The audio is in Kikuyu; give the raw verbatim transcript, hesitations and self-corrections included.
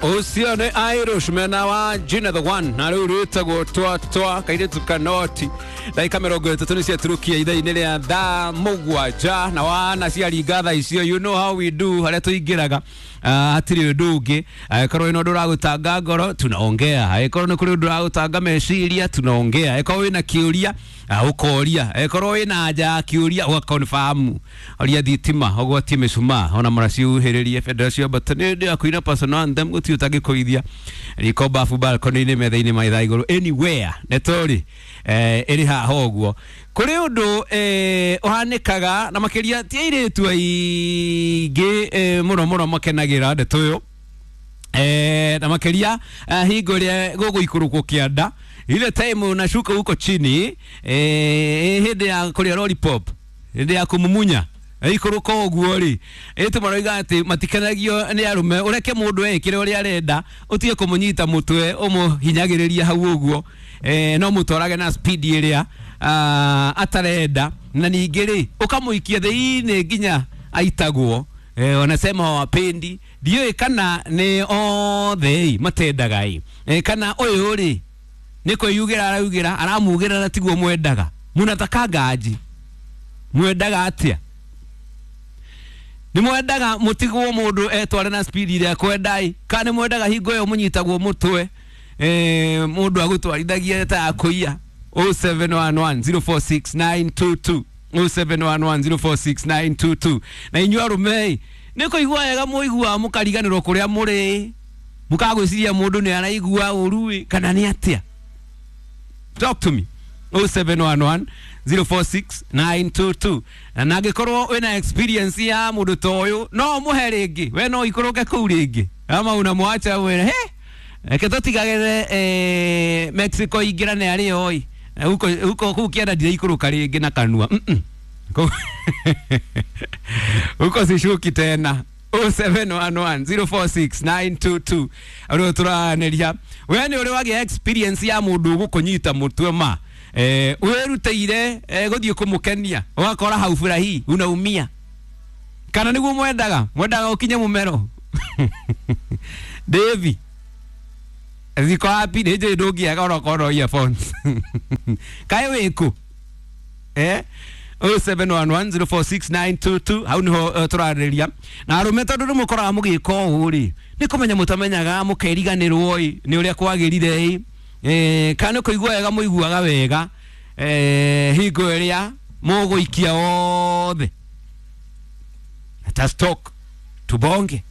Ũcio nĩ Irish mena wa Gina the One na rĩu rwĩtagwo twa twa kairĩtu kanoti. Ndagĩka mĩrongo ĩtatũ nĩ ciaturukia ithaa-inĩ rĩa thaa mũgwanja na wana ciaringa thaa icio, you know how we do, harĩa tũingĩraga. Ah, hatirĩ ũndũ ũngĩ. Angĩkorwo wĩna ũndũ ũragũtanga ngoro, tunaongea. Angĩkorwo nĩ kũrĩ ũndũ ũragũtanga meciria, tunaongea. Angĩkorwo wĩna kĩũria, ah, ũkoria. Angĩkorwo wĩna anja ya kĩũria, ũgaconfirm. Oria thitima ũgwatie mĩcumaa ona mũracihuhĩrĩrie bendera ciambata nĩ hĩndĩ ya kũina personal anthem, gũtirĩ ũtangĩkũithia riko, bafu, balcony-inĩ, metha-inĩ, maitha igũrũ, anywhere nĩtũrĩ eh, ĩrĩ haha ũguo. Kũrĩ ũndũ eh, ũhanĩkaga na makĩria ti airĩtu aingĩ eh, mũno mũno makenagĩra ndeto ĩyo eh, na makeria eh, hingo ĩrĩa gũgũikũrũkwo kĩanda, ile time unashuka huko chini, eh, hĩndĩ ya kũrĩa lollipop, hĩndĩ ya kũmumunya ikũrũka ũguo rĩ, ĩtũ maroiga atĩ matikenagio nĩ arũme. Ũreke mũndũ ekĩre ũrĩa arenda, ũtige kũmũnyita mũtwe ũmũhinyagĩrĩria hau ũguo, eh, no mũtwarage na speed ĩrĩa ah, atarenda, na ningĩ rĩ ũkamũikia thĩinĩ nginya aitagwo. eh, wanasema hawapendi. Ndiũĩ kana nĩ othe ĩ matendaga ĩ, eh, kana ũyũ rĩ nĩ kwĩyugĩra araugĩra aramugĩra na tiguo mwendaga. Mũnataka ngaji mwendaga atĩa? Nĩ mwendaga mũtigwo mũndũ etware na speed ĩrĩa akwenda ĩ, kana nĩ mwendaga hingo ĩyo mũnyitagwo mũtwe, eh, mũndũ agũtwarithagia ta akũiya? zero seven one one zero four six nine two two, zero seven one one zero four six nine two two. Na inyuĩ arũme ĩ, nĩ kũigua wega mũiguaga mũkariganĩrwo kũrĩa mũrĩ, mũkagwĩciria mũndũ nĩ araigua ũru ĩ, kana nĩ atĩa? Talk to me, zero seven one one zero four six nine two two. Na angĩkorwo wĩna experience ya mũndũ ta ũyũ, no ũmũhe rĩngĩ, we no ikũrũke kũu rĩngĩ ama unamwacha wĩre he reke tũtigagĩre eh, Mexico ingĩrane arĩ oi huko huko kũu kĩanda ndiraikũrũka rĩngĩ na kanua. Mm -mm. Kũu- huko sishuki tena. zero seven one one zero four six nine two two arä tũraneria. We nĩ ũrĩ wagĩa experience ya mũndũ ũgũkũnyita mũtwe ma eh, wĩrutĩire eh, gũthiĩ kũmũkenia, ũgakora hau furahi unaumia, kana nĩguo mwendaga mwendaga ũkinye mũmero? Davy ziko wapi? Nĩ njũĩ ndũngĩaga onokorwo no earphones. Kaĩ wĩkũ? eh zero seven one one zero four six nine two two hau niho uh, tũrarĩrĩria na arũme, tondũ nĩ mũkoraga mũgĩka ũũ rĩ, nĩ kũmenya mũtamenyaga mũkeriganĩrwo ĩ nĩ ũrĩa kwagĩrire ĩ, eh, kana nĩ kũigua wega mũiguaga wega eh, hingo ĩrĩa mũgũikia wothe. Let us talk, tubonge.